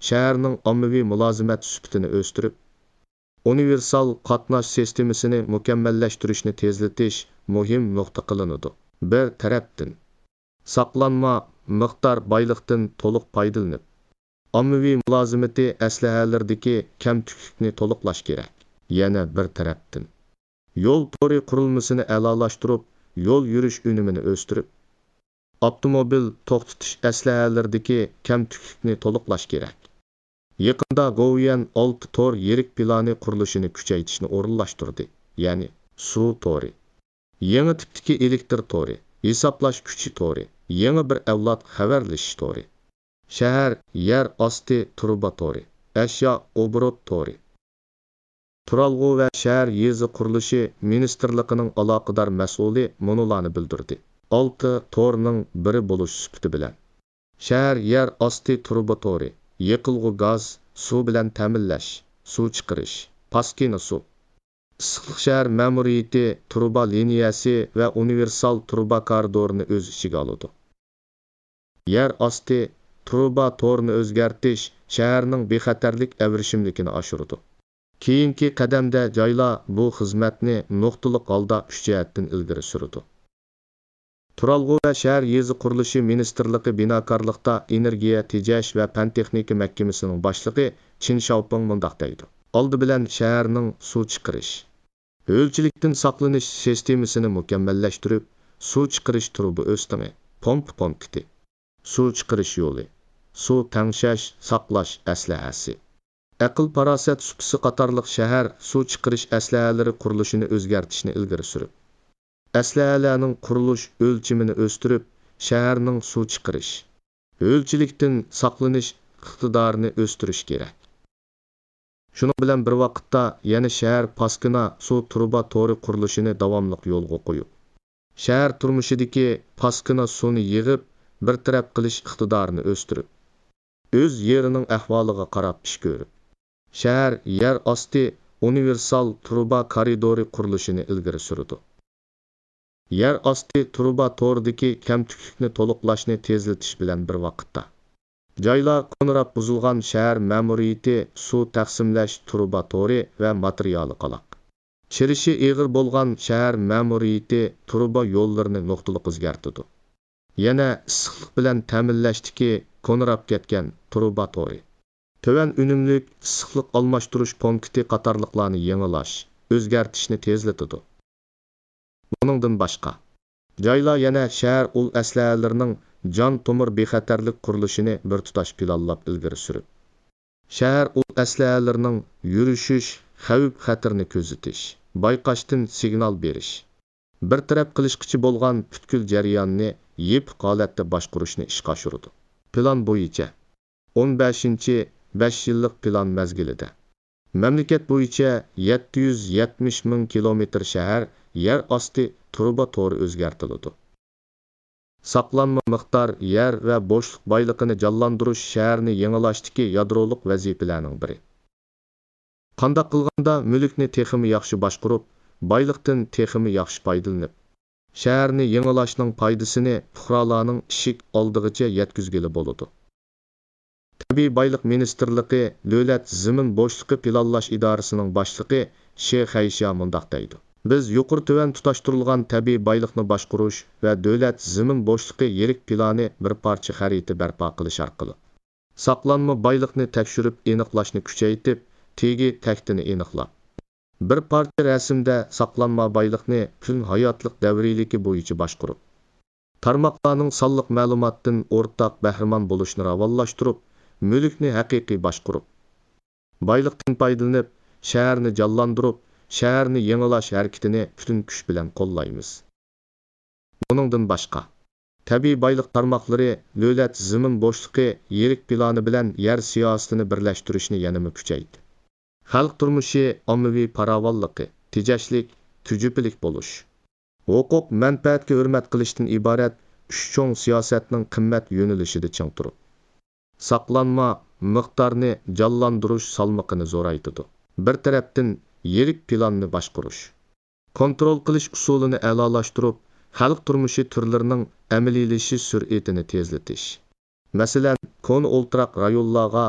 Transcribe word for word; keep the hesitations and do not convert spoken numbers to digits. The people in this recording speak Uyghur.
شەھەرنىڭ ئاممىۋى مۇلازىمەت سۈپىتىنى ئۆستۈرۈپ، ئۇنىۋېرسال قاتناش سىستېمىسىنى مۇكەممەللەشتۈرۈشنى تېزلىتىش مۇھىم نۇقتا قىلىنىدۇ. بىر تەرەپتىن، ساقلانما مىقدار بايلىقتىن تولۇق پايدىلىنىپ، ئاممىۋى مۇلازىمىتى ئەسلىھەلىرىدىكى كەمتۈكلۈكنى تولۇقلاش كېرەك. يەنە بىر تەرەپتىن، يول تورى قۇرۇلمىسىنى ئەلالاشتۇرۇپ، يول يۈرۈش ئۈنۈمىنى ئۆستۈرۈپ، ئاپتوموبىل توختىتىش ئەسلىھەلىرىدىكى كەمتۈكلۈكنى تولۇقلاش كېرەك. يېقىندا گوۋۇيۈەن ئالتە تور يىرىك پىلانى قۇرۇلۇشىنى كۈچەيتىشنى ئورۇنلاشتۇردى، يەنى سۇ تورى، يېڭى تىپتىكى ئېلېكتر تورى، ھېسابلاش كۈچى تورى، يېڭى بىر ئەۋلاد خەۋەرلىشىش تورى، شەھەر يەر ئاستى تۇرۇبا تورى، ئەشيا ئوبوروت تورى. تۇرالغۇ ۋە شەھەر يېزا قۇرۇلۇشى مىنىستىرلىقىنىڭ ئالاقىدار مەسئۇلى مۇنۇلارنى بىلدۈردى: ئالتە تورنىڭ بىرى بولۇش سۈپىتى بىلەن، شەھەر يەر ئاستى تۇرۇبا تورى، يېقىلغۇ گاز، سۇ بىلەن تەمىنلەش، سۇ چىقىرىش، پاسكىنا سۇ، ئىسسىقلىق شەھەر مەمۇرىيىتى تۇرۇبا لىنىيەسى ۋە ئۇنىۋېرسال تۇرۇبا كارىدورىنى ئۆز ئىچىگە ئالىدۇ. يەر ئاستى تۇرۇبا تورىنى ئۆزگەرتىش شەھەرنىڭ بىخەتەرلىك ئەۋرىشىملىكىنى ئاشۇرىدۇ. كېيىنكى قەدەمدە جايلار بۇ خىزمەتنى نۇقتىلىق ھالدا ئۈچ جەھەتتىن ئىلگىرى سۈرىدۇ. تۇرالغۇ ۋە شەھەر يېزا قۇرۇلۇشى مىنىستىرلىقى بىناكارلىقتا ئېنېرگىيە تېجەش ۋە پەن تېخنىكا مەھكىمىسىنىڭ باشلىقى چىن شياۋپىڭ مۇنداق دەيدۇ: ئالدى بىلەن شەھەرنىڭ سۇ چىقىرىش، ھۆلچىلىكتىن ساقلىنىش سىستېمىسىنى مۇكەممەللەشتۈرۈپ، سۇ چىقىرىش تۇرۇبا ئۆستىڭى، پومپا پونكىتى، سۇ چىقىرىش يولى، سۇ تەڭشەش، ساقلاش ئەسلىھەسى، ئەقىل-پاراسەت سۇپىسى قاتارلىق شەھەر سۇ چىقىرىش ئەسلىھەلىرى قۇرۇلۇشىنى ئۆزگەرتىشنى ئىلگىرى سۈرۈپ، ئەسلىھەلەرنىڭ قۇرۇلۇش ئۆلچىمىنى ئۆستۈرۈپ، شەھەرنىڭ سۇ چىقىرىش، ھۆلچىلىكتىن ساقلىنىش ئىقتىدارىنى ئۆستۈرۈش كېرەك. شۇنىڭ بىلەن بىر ۋاقىتتا، يەنە شەھەر پاسكىنا سۇ تۇرۇبا تورى قۇرۇلۇشىنى داۋاملىق يولغا قويۇپ، شەھەر تۇرمۇشىدىكى پاسكىنا سۇنى يىغىپ، بىر تەرەپ قىلىش ئىقتىدارىنى ئۆستۈرۈپ، ئۆز يېرىنىڭ ئەھۋالىغا قاراپ ئىش كۆرۈپ، شەھەر يەر ئاستى ئۇنىۋېرسال تۇرۇبا كارىدورى قۇرۇلۇشىنى ئىلگىرى سۈرىدۇ. يەر ئاستى تۇرۇبا تورىدىكى كەمتۈكلۈكنى تولۇقلاشنى تېزلىتىش بىلەن بىر ۋاقىتتا، جايلار كونىراپ بۇزۇلغان شەھەر مەمۇرىيىتى سۇ تەقسىملەش تۇرۇبا تورى ۋە ماتېرىيالى قالاق، چىرىشى ئېغىر بولغان شەھەر مەمۇرىيىتى تۇرۇبا يوللىرىنى نۇقتىلىق ئۆزگەرتىدۇ. يەنە ئىسسىقلىق بىلەن تەمىنلەشتىكى كونىراپ كەتكەن تۇرۇبا تورى، تۆۋەن ئۈنۈملۈك ئىسسىقلىق ئالماشتۇرۇش پونكىتى قاتارلىقلارنى يېڭىلاش، ئۆزگەرتىشنى تېزلىتىدۇ. بۇنىڭدىن باشقا، جايلار يەنە شەھەر ئۇل ئەسلىھەلىرىنىڭ جان تومۇر بىخەتەرلىك قۇرۇلۇشىنى بىر تۇتاش پىلانلاپ ئىلگىرى سۈرۈپ، شەھەر ئۇل ئەسلىھەلىرىنىڭ يۈرۈشۈش خەۋپ-خەتىرىنى كۆزىتىش، بايقاشتىن سىگنال بېرىش، بىر تەرەپ قىلىشقىچە بولغان پۈتكۈل جەرياننى يېپىق ھالەتتە باشقۇرۇشنى ئىشقا ئاشۇرىدۇ. پىلان بويىچە، ئون بەشىنچى بەش يىللىق پىلان مەزگىلىدە، مەملىكەت بويىچە يەتتە يۈز يەتمىش مىڭ كىلومېتىر شەھەر يەر ئاستى تۇرۇبا تورى ئۆزگەرتىلىدۇ. ساقلانما مىقدار يەر ۋە بوشلۇق بايلىقىنى جانلاندۇرۇش شەھەرنى يېڭىلاشتىكى يادرولۇق ۋەزىپىلەرنىڭ بىرى. قانداق قىلغاندا مۈلۈكنى تېخىمۇ ياخشى باشقۇرۇپ، بايلىقتىن تېخىمۇ ياخشى پايدىلىنىپ، شەھەرنى يېڭىلاشنىڭ پايدىسىنى پۇقرالارنىڭ ئىشىك ئالدىغىچە يەتكۈزگىلى بولىدۇ؟ تەبىئىي بايلىق مىنىستىرلىقى دۆلەت زېمىن بوشلۇقى پىلانلاش ئىدارىسىنىڭ باشلىقى شې خەيشيا مۇنداق دەيدۇ: بىز يۇقىرى تۆۋەن تۇتاشتۇرۇلغان تەبىئىي بايلىقنى باشقۇرۇش ۋە دۆلەت زېمىن بوشلۇقى يىرىك پىلانى بىر پارچە خەرىتە بەرپا قىلىش ئارقىلىق، ساقلانما بايلىقنى تەكشۈرۈپ ئېنىقلاشنى كۈچەيتىپ، تېگى تەكتىنى ئېنىقلاپ، بىر پارچە رەسىمدە ساقلانما بايلىقنى پۈتۈن ھاياتلىق دەۋرىيلىكى بويىچە باشقۇرۇپ، تارماقلارنىڭ سانلىق مەلۇماتتىن ئورتاق بەھرىمەن بولۇشىنى راۋانلاشتۇرۇپ، مۈلۈكنى ھەقىقىي باشقۇرۇپ، بايلىقتىن پايدىلىنىپ، شەھەرنى جانلاندۇرۇپ، شەھەرنى يېڭىلاش ھەرىكىتىنى پۈتۈن كۈچ بىلەن قوللايمىز. بۇنىڭدىن باشقا، تەبىئىي بايلىق تارماقلىرى دۆلەت زېمىن بوشلۇقى يىرىك پىلانى بىلەن يەر سىياسىتىنى بىرلەشتۈرۈشنى يەنىمۇ كۈچەيتتى. خەلق تۇرمۇشى ئاممىۋى پاراۋانلىقى، تېجەشلىك، تۈجۈپىلىك بولۇش، ھوقۇق مەنپەئەتكە ھۆرمەت قىلىشتىن ئىبارەت ئۈچ چوڭ سىياسەتنىڭ قىممەت يۆنىلىشىدە چىڭ تۇرۇپ، ساقلانما مىقدارنى جانلاندۇرۇش سالمىقىنى زورايتىدۇ. بىر تەرەپتىن، يىرىك پىلاننى باشقۇرۇش، كونترول قىلىش ئۇسۇلىنى ئەلالاشتۇرۇپ، خەلق تۇرمۇشى تۈرلىرىنىڭ ئەمەلىيلىشىش سۈرئىتىنى تېزلىتىش. مەسىلەن، كونا ئولتۇراق رايونلارغا